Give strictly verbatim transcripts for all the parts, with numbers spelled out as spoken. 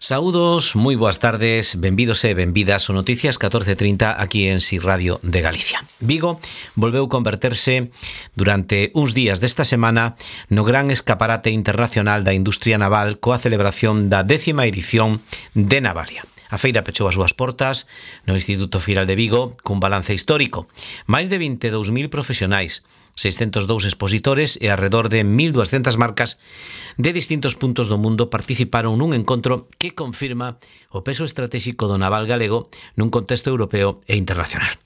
Saúdos, moi boas tardes, benvidos e benvidas ao Noticias catorce trinta aquí en Si Radio de Galicia. Vigo volveu converterse durante uns días desta semana no gran escaparate internacional da industria naval coa celebración da décima edición de Navalia. A feira pechou as súas portas no Instituto Firal de Vigo cun balance histórico. Máis de vinte e dous mil profesionais, seiscentos e dous expositores e alrededor de mil duascentas marcas de distintos puntos do mundo participaron nun encontro que confirma o peso estratégico do naval galego nun contexto europeo e internacional.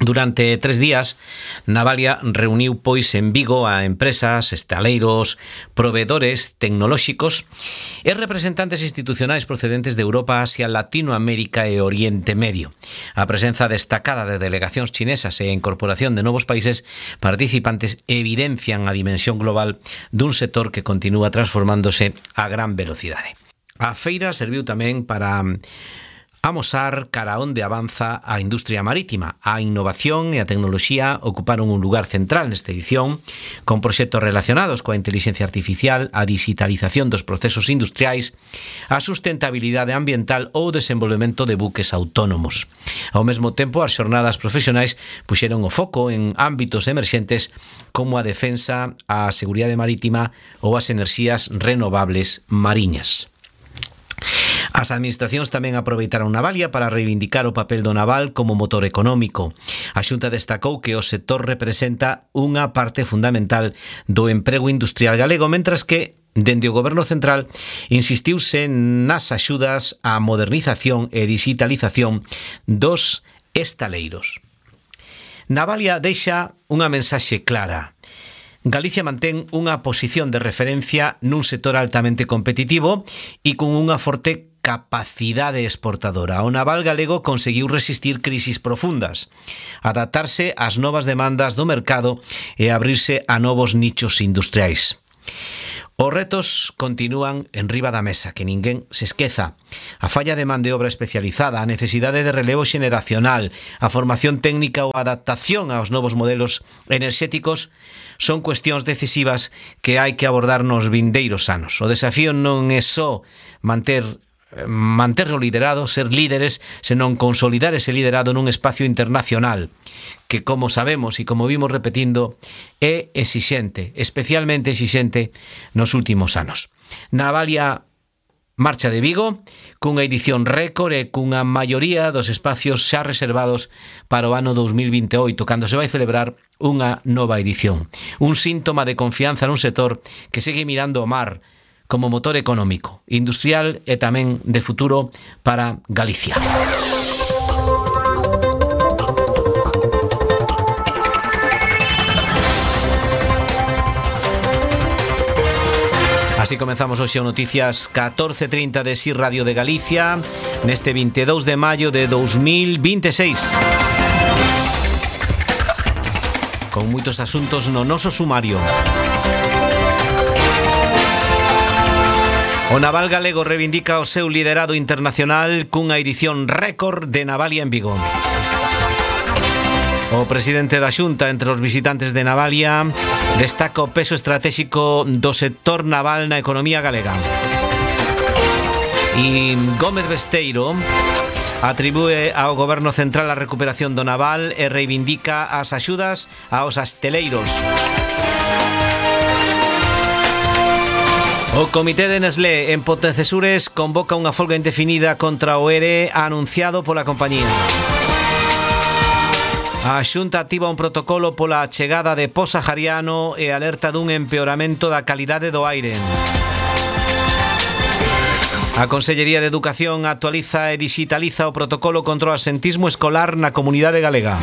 Durante tres días, Navalia reuniu pois en Vigo a empresas, estaleiros, proveedores tecnolóxicos e representantes institucionais procedentes de Europa, Asia, Latinoamérica e Oriente Medio. A presenza destacada de delegacións chinesas e a incorporación de novos países participantes evidencian a dimensión global dun sector que continúa transformándose a gran velocidade. A feira serviu tamén para amosar cara onde avanza a industria marítima. A innovación e a tecnoloxía ocuparon un lugar central nesta edición, con proxectos relacionados coa inteligencia artificial, a digitalización dos procesos industriais, a sustentabilidade ambiental ou o desenvolvemento de buques autónomos. Ao mesmo tempo, as xornadas profesionais puxeron o foco en ámbitos emerxentes como a defensa, a seguridade marítima ou as enerxías renovables mariñas. As administracións tamén aproveitaron Navalia para reivindicar o papel do naval como motor económico. A Xunta destacou que o sector representa unha parte fundamental do emprego industrial galego, mentras que, dende o Goberno Central, insistiuse nas axudas á modernización e digitalización dos estaleiros. Navalia deixa unha mensaxe clara. Galicia mantén unha posición de referencia nun sector altamente competitivo e con unha forte capacidade exportadora. O naval galego conseguiu resistir crisis profundas, adaptarse ás novas demandas do mercado e abrirse a novos nichos industriais. Os retos continúan en riba da mesa, que ninguén se esqueza. A falla de man de obra especializada, a necesidade de relevo xeneracional, a formación técnica ou a adaptación aos novos modelos enerxéticos son cuestións decisivas que hai que abordar nos vindeiros anos. O desafío non é só manter manter o liderado, ser líderes, senón consolidar ese liderado nun espacio internacional que, como sabemos e como vimos repetindo, é exixente, especialmente exixente nos últimos anos. Navalia marcha de Vigo cunha edición récord e cunha maioría dos espacios xa reservados para o ano dous mil vinte e oito, cando se vai celebrar unha nova edición. Un síntoma de confianza nun sector que segue mirando o mar como motor económico, industrial e tamén de futuro para Galicia. Así comenzamos hoxe o Noticias catorce trinta de Si Radio de Galicia neste vinte e dous de maio de dous mil vinte e seis. Con moitos asuntos no noso sumario. O naval galego reivindica o seu liderado internacional cunha edición récord de Navalia en Vigo. O presidente da Xunta, entre os visitantes de Navalia, destaca o peso estratégico do sector naval na economía galega. E Gómez Besteiro atribúe ao Goberno Central a recuperación do naval e reivindica as axudas aos asteleiros. O Comité de Nestlé en Pontecesures convoca unha folga indefinida contra o E R E anunciado pola compañía. A Xunta activa un protocolo pola chegada de po sahariano e alerta dun empeoramento da calidade do aire. A Consellería de Educación actualiza e digitaliza o protocolo contra o absentismo escolar na comunidade galega.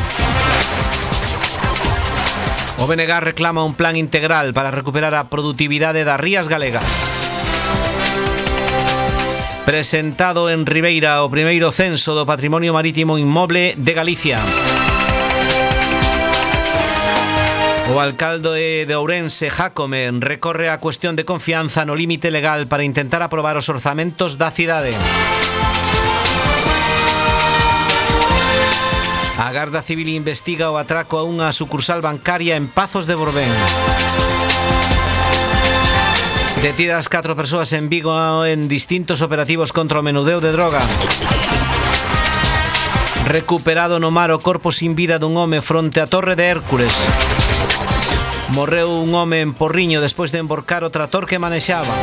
O B N G reclama un plan integral para recuperar a produtividade das rías galegas. Presentado en Ribeira o primeiro censo do patrimonio marítimo inmoble de Galicia. O alcalde de Ourense, Jácome, recorre a cuestión de confianza no límite legal para intentar aprobar os orzamentos da cidade. A Garda Civil investiga o atraco a unha sucursal bancaria en Pazos de Borbén. Detidas catro persoas en Vigo en distintos operativos contra o menudeo de droga. Recuperado no mar o corpo sin vida dun home fronte á Torre de Hércules. Morreu un home en Porriño despois de emborcar o trator que manexaba.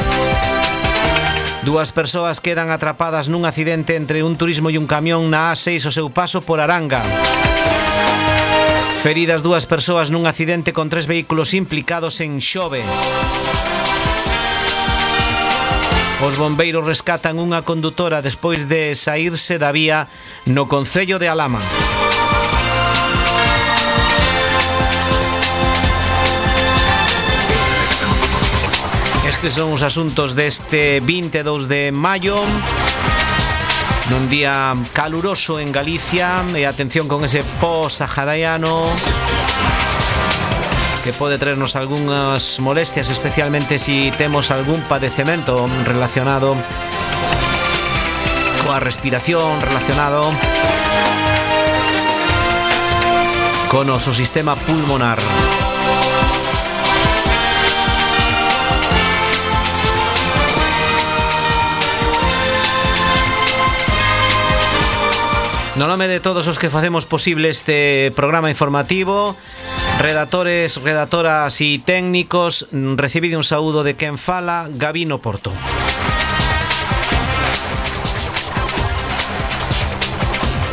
Dúas persoas quedan atrapadas nun accidente entre un turismo e un camión na A seis o seu paso por Aranga. Feridas dúas persoas nun accidente con tres vehículos implicados en Xove. Os bombeiros rescatan unha condutora despois de saírse da vía no concello de Alama. Estes son os asuntos deste vinte e dous de maio, nun día caluroso en Galicia, e atención con ese po-sahariano que pode traernos algunhas molestias, especialmente si temos algún padecemento relacionado coa respiración, relacionado con o noso sistema pulmonar. No nome de todos os que facemos posible este programa informativo, redactores, redactoras e técnicos, recibide un saúdo de quen fala, Gabino Porto.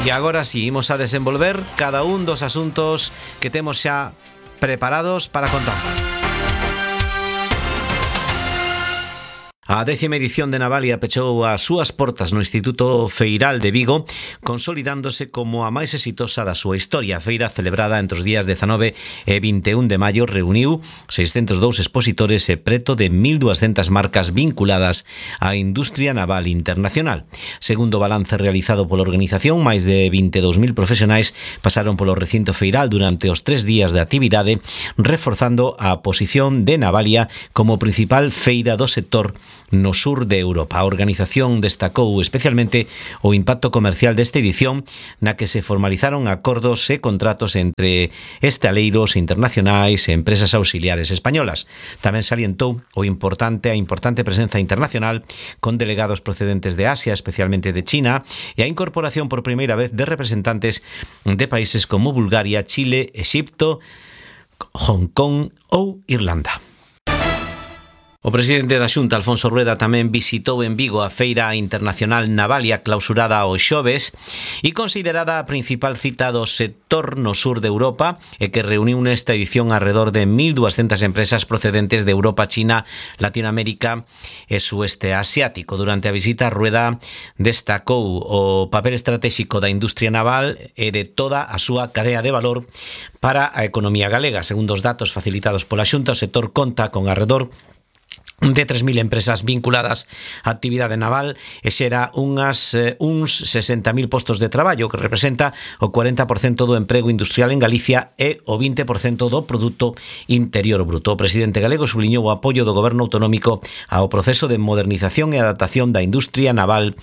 E agora si, imos a desenvolver cada un dos asuntos que temos xa preparados para contar. A décima edición de Navalia pechou as súas portas no Instituto Feiral de Vigo, consolidándose como a máis exitosa da súa historia. A feira, celebrada entre os días dezanove e vinte e un de maio, reuniu seiscentos e dous expositores e preto de mil duascentas marcas vinculadas á industria naval internacional. Segundo o balance realizado pola organización, máis de vinte e dous mil profesionais pasaron polo recinto feiral durante os tres días de actividade, reforzando a posición de Navalia como principal feira do sector no sur de Europa. A organización destacou especialmente o impacto comercial desta edición, na que se formalizaron acordos e contratos entre estaleiros internacionais e empresas auxiliares españolas. Tamén salientou o importante a importante presenza internacional con delegados procedentes de Asia, especialmente de China, e a incorporación por primeira vez de representantes de países como Bulgaria, Chile, Exipto, Hong Kong ou Irlanda. O presidente da Xunta, Alfonso Rueda, tamén visitou en Vigo a Feira Internacional Navalia clausurada o xoves e considerada a principal cita do sector no sur de Europa e que reuniu nesta edición alrededor de mil duascentas empresas procedentes de Europa, China, Latinoamérica e Sueste Asiático. Durante a visita, Rueda destacou o papel estratégico da industria naval e de toda a súa cadea de valor para a economía galega. Segundo os datos facilitados pola Xunta, o sector conta con alrededor de tres mil empresas vinculadas á actividade naval e xera unhas, eh, uns sesenta mil postos de traballo, que representa o cuarenta por cento do emprego industrial en Galicia e o vinte por cento do Produto Interior Bruto. O presidente galego subliñou o apoio do goberno autonómico ao proceso de modernización e adaptación da industria naval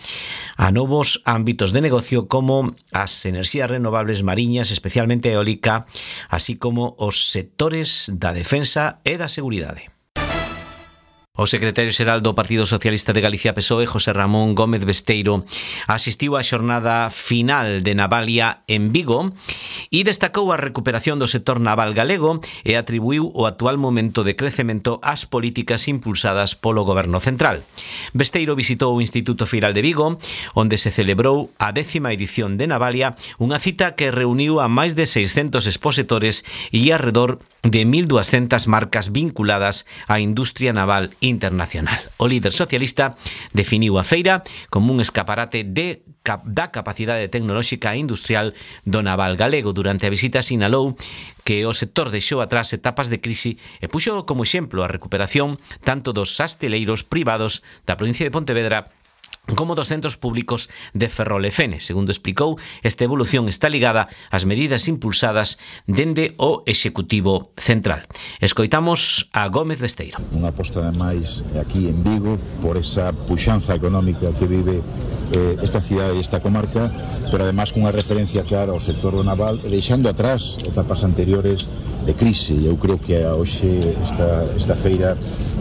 a novos ámbitos de negocio como as enerxías renovables mariñas, especialmente eólica, así como os sectores da defensa e da seguridade. O secretario xeral do Partido Socialista de Galicia P S O E, José Ramón Gómez Besteiro, asistiu á xornada final de Navalia en Vigo e destacou a recuperación do sector naval galego e atribuiu o actual momento de crecemento ás políticas impulsadas polo Goberno Central. Besteiro visitou o Instituto Feiral de Vigo, onde se celebrou a décima edición de Navalia, unha cita que reuniu a máis de seiscentos expositores e alrededor de mil duascentas marcas vinculadas á industria naval internacional. O líder socialista definiu a feira como un escaparate de, da capacidade tecnolóxica e industrial do naval galego. Durante a visita sinalou que o sector deixou atrás etapas de crise e puxo como exemplo a recuperación tanto dos asteleiros privados da provincia de Pontevedra como dos centros públicos de Ferrol e Fene. Segundo explicou, esta evolución está ligada ás medidas impulsadas dende o Executivo Central. Escoitamos a Gómez Besteiro. Unha aposta de máis aquí en Vigo por esa puxanza económica que vive eh, esta cidade e esta comarca, pero además cunha referencia clara ao sector do naval, deixando atrás etapas anteriores de crise. Eu creo que hoxe esta, esta feira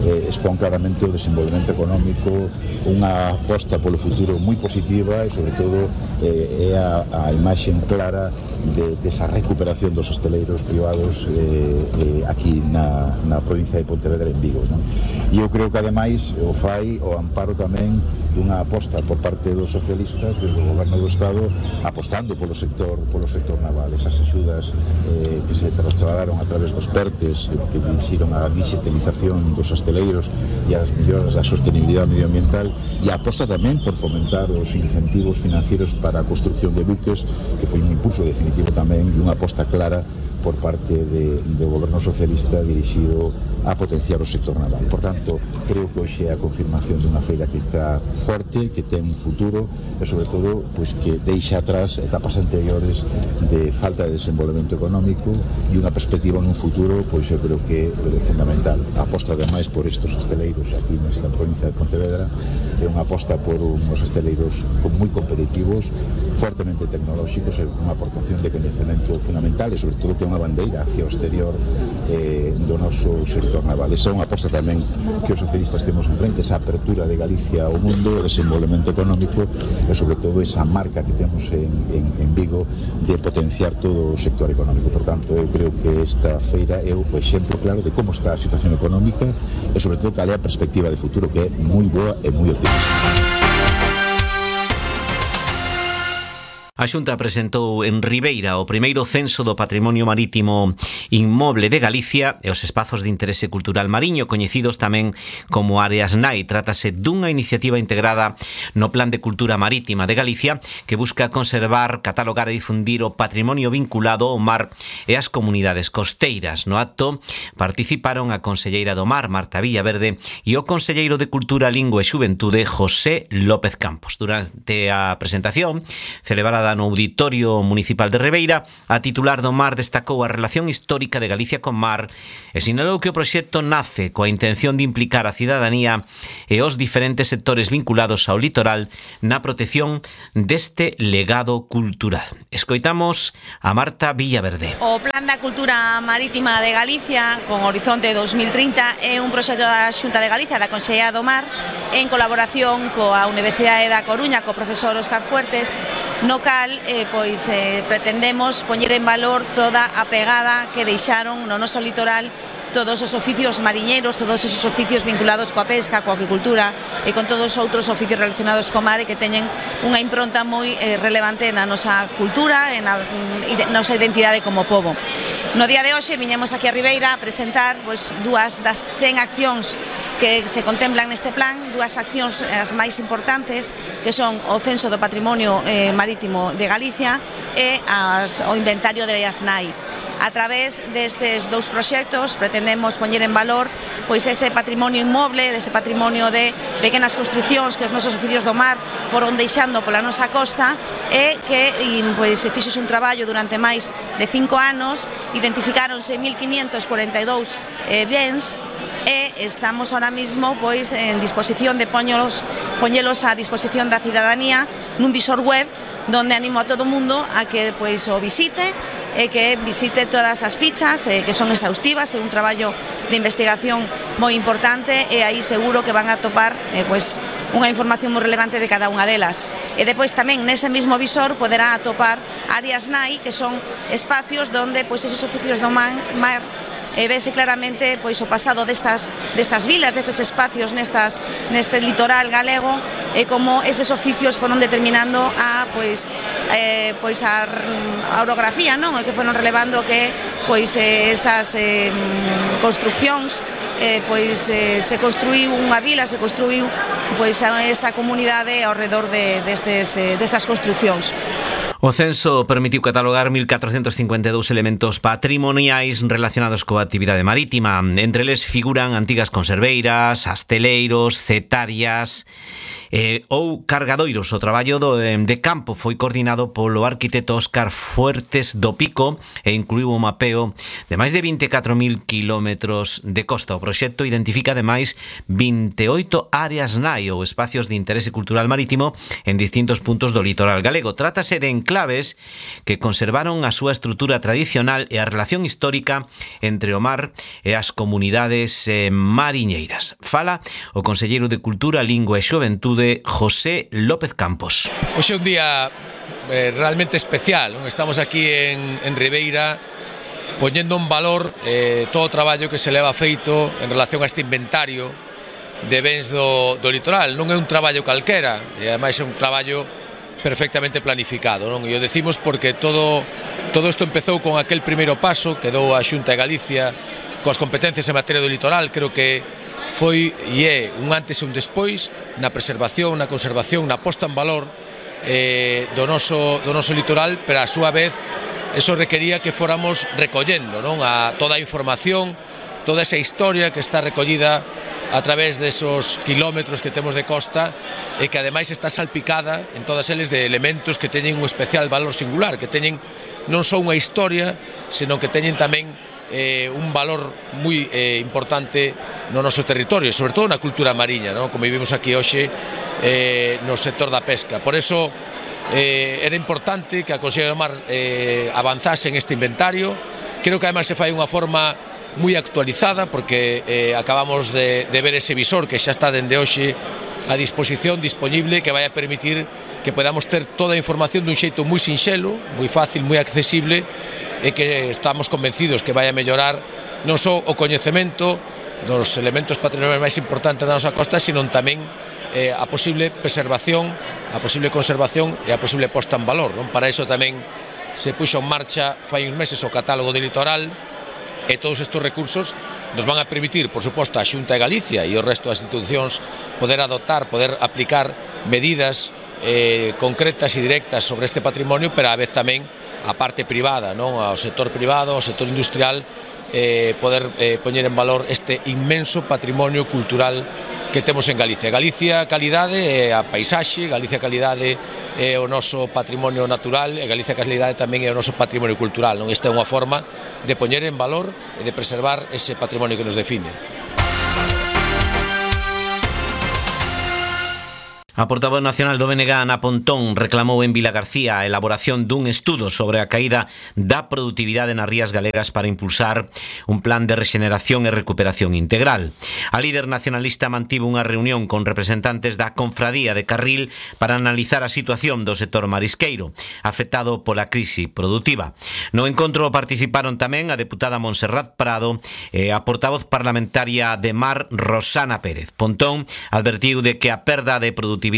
eh, expón claramente o desenvolvemento económico, unha aposta polo futuro moi positiva e sobre todo eh, é a, a imaxe clara de, desa recuperación dos hosteleiros privados eh, eh, aquí na, na provincia de Pontevedra, en Vigo, non? E eu creo que ademais o fai o amparo tamén dunha aposta por parte dos socialistas desde o goberno do Estado apostando polo sector polo sector naval, esas axudas eh, que se trasladaron a través dos PERTES eh, que dirixiron a digitalización dos hosteleiros e as melloras da sostenibilidade medioambiental, e a aposta tamén por fomentar os incentivos financieros para a construcción de buques, que foi un impulso definitivo tamén e unha aposta clara por parte de, do goberno socialista dirixido a potenciar o sector naval. Por tanto, creo que hoxe é a confirmación dunha feira que está forte, que ten un futuro e, sobre todo, pues, que deixa atrás etapas anteriores de falta de desenvolvemento económico e unha perspectiva nun futuro, pois eu creo que é fundamental. A aposta, ademais, por estes hosteleiros aquí nesta provincia de Pontevedra é unha aposta por uns hosteleiros moi competitivos, fortemente tecnolóxicos, e unha aportación de coñecemento fundamental e, sobre todo, que é unha bandeira hacia o exterior eh, do noso sector naval. Esa é unha aposta tamén que os socialistas temos en frente, esa apertura de Galicia ao mundo, o desenvolvemento económico e, sobre todo, esa marca que temos en, en, en Vigo de potenciar todo o sector económico. Por tanto, eu creo que esta feira é o exemplo claro de como está a situación económica e, sobre todo, cal é a perspectiva de futuro, que é moi boa e moi optimista. A Xunta presentou en Ribeira o primeiro censo do patrimonio marítimo inmoble de Galicia e os espazos de interese cultural mariño, coñecidos tamén como áreas N A I. Trátase dunha iniciativa integrada no Plan de Cultura Marítima de Galicia que busca conservar, catalogar e difundir o patrimonio vinculado ao mar e ás comunidades costeiras. No acto participaron a conselleira do Mar, Marta Villaverde, e o conselleiro de Cultura, Lingua e Xuventude, José López Campos. Durante a presentación, celebrada no Auditorio Municipal de Ribeira, a titular do Mar destacou a relación histórica de Galicia con mar e sinalou que o proxecto nace coa intención de implicar a cidadanía e os diferentes sectores vinculados ao litoral na protección deste legado cultural. Escoitamos a Marta Villaverde. O Plan da Cultura Marítima de Galicia con horizonte dos mil trinta é un proxecto da Xunta de Galicia, da Consellería do Mar, en colaboración coa Universidade da Coruña, co profesor Óscar Fuertes, no cal eh, pois, eh, pretendemos poñer en valor toda a pegada que deixaron no noso litoral todos os oficios mariñeiros, todos esos oficios vinculados coa pesca, coa aquicultura e con todos os outros oficios relacionados co mar e que teñen unha impronta moi eh, relevante na nosa cultura e na nosa identidade como pobo. No día de hoxe viñemos aquí a Ribeira a presentar pois, dúas das cen accións que se contemplan neste plan, dúas accións as máis importantes, que son o censo do patrimonio eh, marítimo de Galicia e as, o inventario de áreas N A I. A través destes dous proxectos pretendemos poñer en valor pois ese patrimonio inmoble, dese patrimonio de pequenas construcións que os nosos oficios do mar foron deixando pola nosa costa e que pois, se fixose un traballo durante máis de cinco anos, identificáronse mil quinientos cuarenta e dous eh, bens e estamos ahora mismo pois en disposición de poñelos, poñelos a disposición da cidadanía nun visor web donde animo a todo o mundo a que pois o visite e que visite todas as fichas eh, que son exhaustivas, é un traballo de investigación moi importante e aí seguro que van a topar eh, pois, unha información moi relevante de cada unha delas. E depois tamén nese mesmo visor poderá atopar áreas N A I, que son espacios donde pois, esos oficios do man, mar e vese claramente pois o pasado destas destas vilas, destes espacios nestas neste litoral galego e como eses oficios foron determinando a pois eh, pois a, a orografía, non? E que foron relevando que pois eh, esas eh, construcións eh, pois eh, se construiu unha vila, se construiu pois esa comunidade ao redor de destes eh, destas construcións. O censo permitiu catalogar mil catrocentos cincuenta e dous elementos patrimoniais relacionados coa actividade marítima. Entre eles figuran antigas conserveiras, asteleiros, cetarias eh, ou cargadoiros. O traballo do, de campo foi coordinado polo arquitecto Óscar Fuertes do Pico e incluiu o mapeo de máis de vinte e catro mil kilómetros de costa. O proxecto identifica ademais vinte e oito áreas N A I ou espacios de interese cultural marítimo en distintos puntos do litoral galego. Trátase de enclaves que conservaron a súa estrutura tradicional e a relación histórica entre o mar e as comunidades eh, mariñeiras. Fala o conselleiro de Cultura, Lingua e Xoventude, José López Campos. Hoxe é un día eh, realmente especial, non? Estamos aquí en, en Ribeira poñendo en valor eh, todo o traballo que se leva feito en relación a este inventario de bens do, do litoral. Non é un traballo calquera, e ademais é un traballo perfectamente planificado, non? E o decimos porque todo todo isto empezou con aquel primeiro paso que dou a Xunta de Galicia coas competencias en materia do litoral. Creo que foi e é un antes e un despois na preservación, na conservación, na posta en valor eh, do, noso, do noso litoral, pero a súa vez eso requería que fóramos recollendo, non? A toda a información, toda esa historia que está recollida a través desos kilómetros que temos de costa e que ademais está salpicada en todas eles de elementos que teñen un especial valor singular, que teñen non só unha historia, senón que teñen tamén eh, un valor moi eh, importante no noso territorio, sobre todo na cultura mariña, non? Como vivimos aquí hoxe eh, no sector da pesca. Por eso eh, era importante que a Consellería do Mar eh, avanzase en este inventario. Creo que ademais se fai unha forma moi actualizada, porque eh, acabamos de, de ver ese visor que xa está dende hoxe a disposición, disponible, que vai a permitir que podamos ter toda a información dun xeito moi sinxelo, moi fácil, moi accesible, e que estamos convencidos que vai a mellorar non só o coñecemento dos elementos patrimoniais máis importantes da nosa costa, sino tamén eh, a posible preservación, a posible conservación e a posible posta en valor, non? Para iso tamén se puxo en marcha fai uns meses o catálogo de litoral, e todos estes recursos nos van a permitir, por suposto, a Xunta de Galicia e o resto das institucións poder adoptar, poder aplicar medidas eh, concretas e directas sobre este patrimonio, pero a vez tamén a parte privada, non? Ao sector privado, ao sector industrial, eh, poder eh, poñer en valor este inmenso patrimonio cultural que temos en Galicia. Galicia calidade é a paisaxe, Galicia calidade é o noso patrimonio natural e Galicia calidade tamén é o noso patrimonio cultural, non? Esta é unha forma de poñer en valor e de preservar ese patrimonio que nos define. A portavoz nacional do B N G, Ana Pontón, reclamou en Vilagarcía a elaboración dun estudo sobre a caída da produtividade nas rías galegas para impulsar un plan de rexeneración e recuperación integral. A líder nacionalista mantivo unha reunión con representantes da Confradía de Carril para analizar a situación do sector marisqueiro, afectado pola crise produtiva. No encontro participaron tamén a deputada Montserrat Prado e a portavoz parlamentaria de Mar, Rosana Pérez. Pontón advertiu de que a perda de produtividade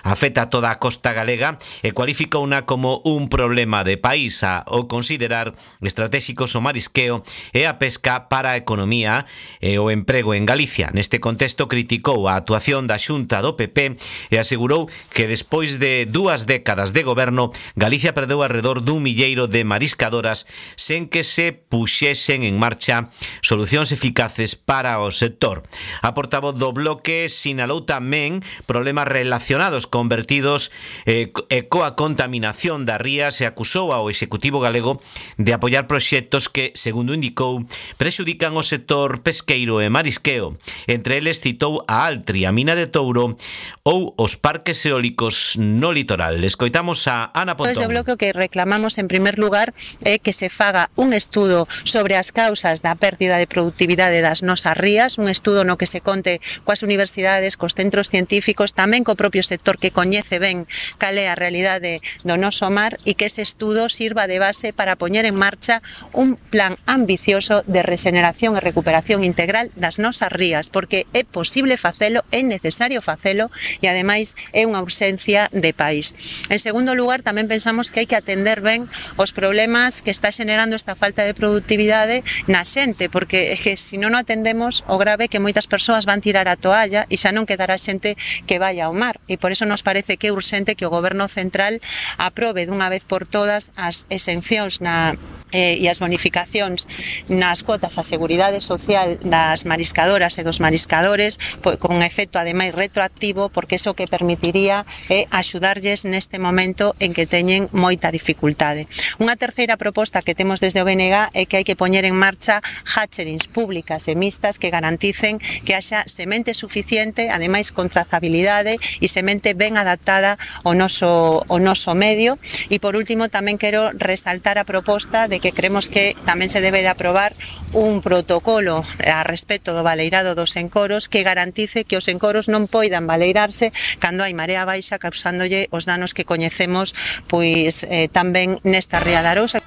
afecta a toda a costa galega e cualificouna como un problema de país ao considerar estratégicos o marisqueo e a pesca para a economía e o emprego en Galicia. Neste contexto criticou a actuación da Xunta do P P e asegurou que despois de dúas décadas de goberno, Galicia perdeu alrededor dun milleiro de mariscadoras sen que se puxesen en marcha solucións eficaces para o sector. A portavoz do Bloque sinalou tamén problemas relacionados con vertidos eh, e coa contaminación das rías e acusou ao Executivo galego de apoiar proxectos que, segundo indicou, prexudican o sector pesqueiro e marisqueo. Entre eles citou a Altri, a mina de Touro ou os parques eólicos no litoral. Escoitamos a Ana Pontón. Desde o Bloque que reclamamos en primer lugar é que se faga un estudo sobre as causas da pérdida de produtividade das nosas rías, un estudo no que se conte coas universidades, cos centros científicos, tamén co propio sector que coñece ben cal é a realidade do noso mar e que ese estudo sirva de base para poñer en marcha un plan ambicioso de regeneración e recuperación integral das nosas rías, porque é posible facelo, é necesario facelo e ademais é unha urxencia de país. En segundo lugar, tamén pensamos que hai que atender ben os problemas que está xenerando esta falta de productividade na xente, porque é que se non o atendemos, o grave é que moitas persoas van tirar a toalla e xa non quedará xente que vaya ao ao mar, e por eso nos parece que é urxente que o Goberno Central aprobe dunha vez por todas as exencións na Eh, e as bonificacións nas cuotas a seguridade social das mariscadoras e dos mariscadores, pois, con efecto ademais retroactivo, porque iso que permitiría é eh, axudarlles neste momento en que teñen moita dificultade. Unha terceira proposta que temos desde o B N G é que hai que poñer en marcha hatcherings públicas e mixtas que garanticen que haxa semente suficiente, ademais con trazabilidade e semente ben adaptada ao noso, ao noso medio. E por último tamén quero resaltar a proposta de que creemos que tamén se debe de aprobar un protocolo a respecto do baleirado dos encoros que garantice que os encoros non poidan baleirarse cando hai marea baixa, causándolle os danos que coñecemos pois eh, tamén nesta ría de Arousa.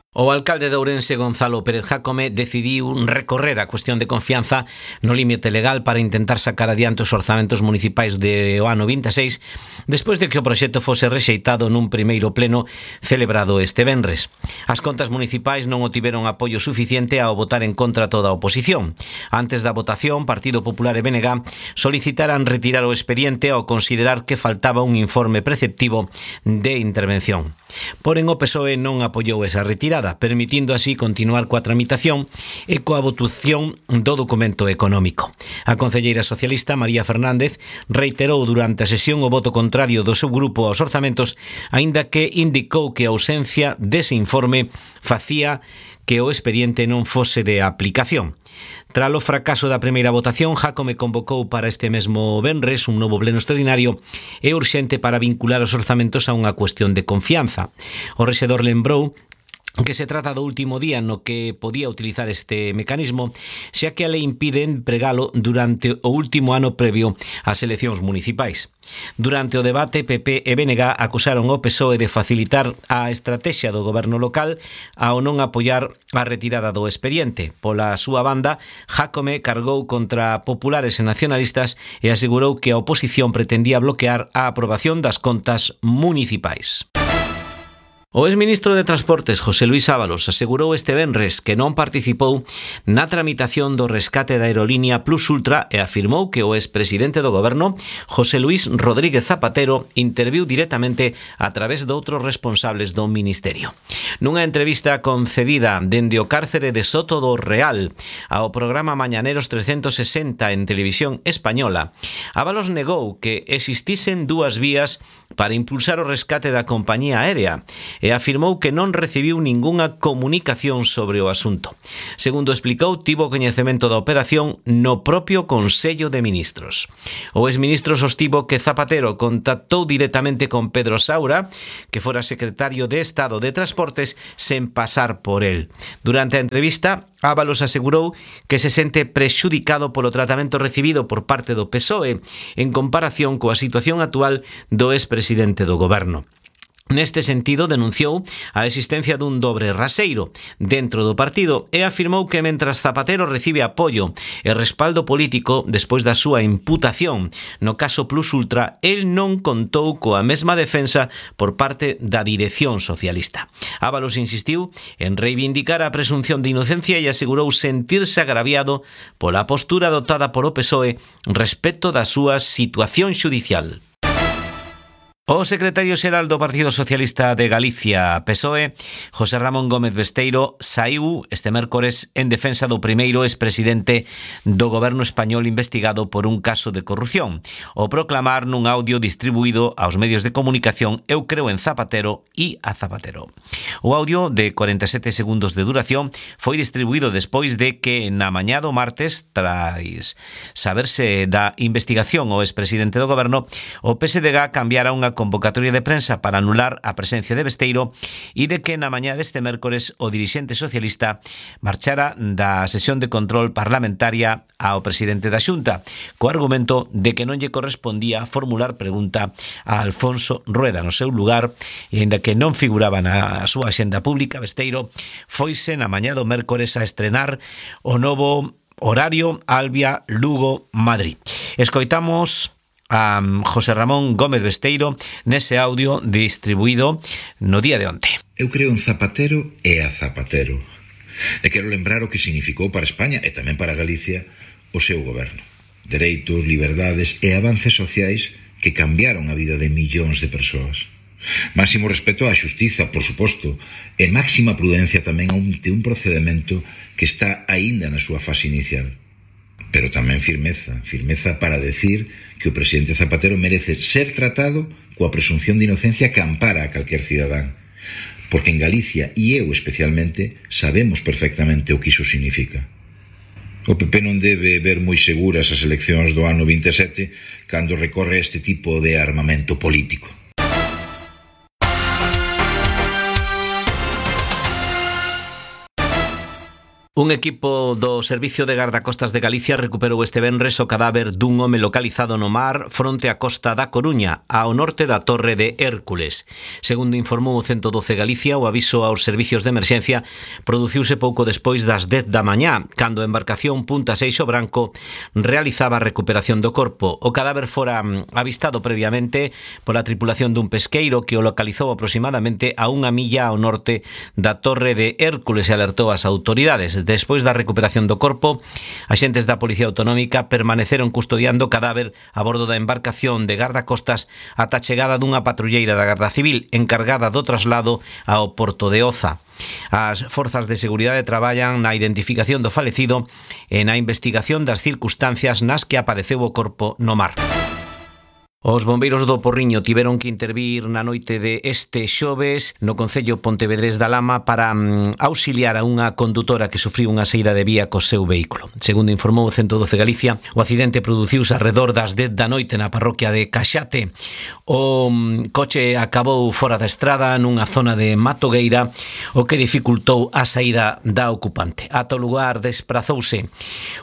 O alcalde de Ourense, Gonzalo Pérez Jácome, decidiu recorrer a cuestión de confianza no límite legal para intentar sacar adiante os orzamentos municipais de o ano vinte e seis, despois de que o proxecto fose rexeitado nun primeiro pleno celebrado este venres. As contas municipais non o tiveron apoio suficiente ao votar en contra toda a oposición. Antes da votación, Partido Popular e B N G solicitaran retirar o expediente ao considerar que faltaba un informe preceptivo de intervención. Porén, o P S O E non apoiou esa retirada, permitindo así continuar coa tramitación e coa votación do documento económico. A concelleira socialista María Fernández reiterou durante a sesión o voto contrario do seu grupo aos orzamentos, aínda que indicou que a ausencia dese informe facía que o expediente non fose de aplicación. Tras o fracaso da primeira votación, Jácome convocou para este mesmo venres un novo pleno extraordinario e urxente para vincular os orzamentos a unha cuestión de confianza. O rexedor lembrou que se trata do último día no que podía utilizar este mecanismo, xa que a lei impide empregalo durante o último ano previo ás eleccións municipais. Durante o debate, P P e B N G acusaron o P S O E de facilitar a estrategia do goberno local ao non apoiar a retirada do expediente. Pola súa banda, Jácome cargou contra populares e nacionalistas e asegurou que a oposición pretendía bloquear a aprobación das contas municipais. O exministro de Transportes, José Luís Ábalos, asegurou este venres que non participou na tramitación do rescate da aerolínea Plus Ultra e afirmou que o expresidente do goberno, José Luís Rodríguez Zapatero, interviu directamente a través de outros responsables do ministerio. Nunha entrevista concedida dende o cárcere de Soto do Real ao programa Mañaneros trescentos sesenta en Televisión Española, Ábalos negou que existisen dúas vías para impulsar o rescate da compañía aérea e afirmou que non recibiu ningunha comunicación sobre o asunto. Segundo explicou, tivo coñecemento da operación no propio Consello de Ministros. O exministro sostivo que Zapatero contactou directamente con Pedro Saura, que fora secretario de Estado de Transportes, sen pasar por él. Durante a entrevista, Ábalos asegurou que se sente prexudicado polo tratamento recibido por parte do P S O E en comparación coa situación actual do expresidente do goberno. Neste sentido, denunciou a existencia dun dobre raseiro dentro do partido e afirmou que mentras Zapatero recibe apoio e respaldo político despois da súa imputación no caso Plus Ultra, el non contou coa mesma defensa por parte da dirección socialista. Ábalos insistiu en reivindicar a presunción de inocencia e asegurou sentirse agraviado pola postura adoptada por o P S O E respecto da súa situación xudicial. O secretario xeral do Partido Socialista de Galicia, P S O E, José Ramón Gómez Besteiro, saiu este mércores en defensa do primeiro expresidente do goberno español investigado por un caso de corrupción, o proclamar nun audio distribuído aos medios de comunicación "Eu creo en Zapatero e a Zapatero". O audio de cuarenta e sete segundos de duración foi distribuído despois de que na mañá do martes, tras saberse da investigación ao expresidente do goberno, o P S D G cambiara unha convocatoria de prensa para anular a presencia de Besteiro e de que na mañá deste mércores o dirixente socialista marchara da sesión de control parlamentaria ao presidente da Xunta, co argumento de que non lle correspondía formular pregunta a Alfonso Rueda no seu lugar, e aínda que non figuraba na súa axenda pública, Besteiro foise na mañá do mércores a estrenar o novo horario Albia Lugo Madrid. Escoitamos a José Ramón Gómez Besteiro nese audio distribuído no día de onte. Eu creo en Zapatero e a Zapatero. E quero lembrar o que significou para España e tamén para Galicia o seu goberno. Dereitos, liberdades e avances sociais que cambiaron a vida de millóns de persoas. Máximo respeto á xustiza, por suposto, e máxima prudencia tamén ante un procedimento que está aínda na súa fase inicial. Pero tamén firmeza, firmeza para decir que o presidente Zapatero merece ser tratado coa presunción de inocencia que ampara a calquer cidadán. Porque en Galicia, e eu especialmente, sabemos perfectamente o que iso significa. O P P non debe ver moi seguras as eleccións do ano vinte e sete cando recorre este tipo de armamento político. Un equipo do Servicio de Gardacostas de Galicia recuperou este venres o cadáver dun home localizado no mar fronte á costa da Coruña, ao norte da Torre de Hércules. Segundo informou o ciento doce Galicia, o aviso aos servicios de emerxencia produciuse pouco despois das dez da mañá, cando a embarcación Punta Seixo Branco realizaba a recuperación do corpo. O cadáver fora avistado previamente pola tripulación dun pesqueiro que o localizou aproximadamente a unha milla ao norte da Torre de Hércules e alertou as autoridades. Despois da recuperación do corpo, axentes da Policía Autonómica permaneceron custodiando o cadáver a bordo da embarcación de gardacostas ata a chegada dunha patrulleira da Garda Civil encargada do traslado ao porto de Oza. As forzas de seguridade traballan na identificación do falecido e na investigación das circunstancias nas que apareceu o corpo no mar. Os bombeiros do Porriño tiveron que intervir na noite de este xoves no concello pontevedrés da Lama para um, auxiliar a unha condutora que sufriu unha saída de vía co seu vehículo. Segundo informou o ciento doce Galicia, o accidente produciuse arredor das dez da noite na parroquia de Caxate. O um, coche acabou fora da estrada nunha zona de Matogueira, o que dificultou a saída da ocupante. Ata o lugar desprazouse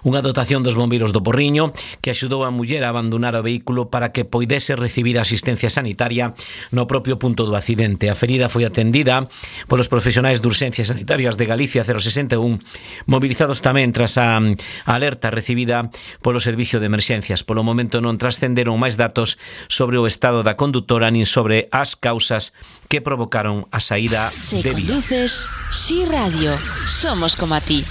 unha dotación dos bombeiros do Porriño que axudou a muller a abandonar o vehículo para que poidese dese recibir asistencia sanitaria no propio punto do accidente. A ferida foi atendida polos profesionais de urxencias sanitarias de Galicia cero sesenta e un, movilizados tamén tras a alerta recibida polo servicio de emerxencias. Polo momento non trascenderon máis datos sobre o estado da condutora nin sobre as causas que provocaron a saída Se de vía. conduces, Si Radio, somos como a ti.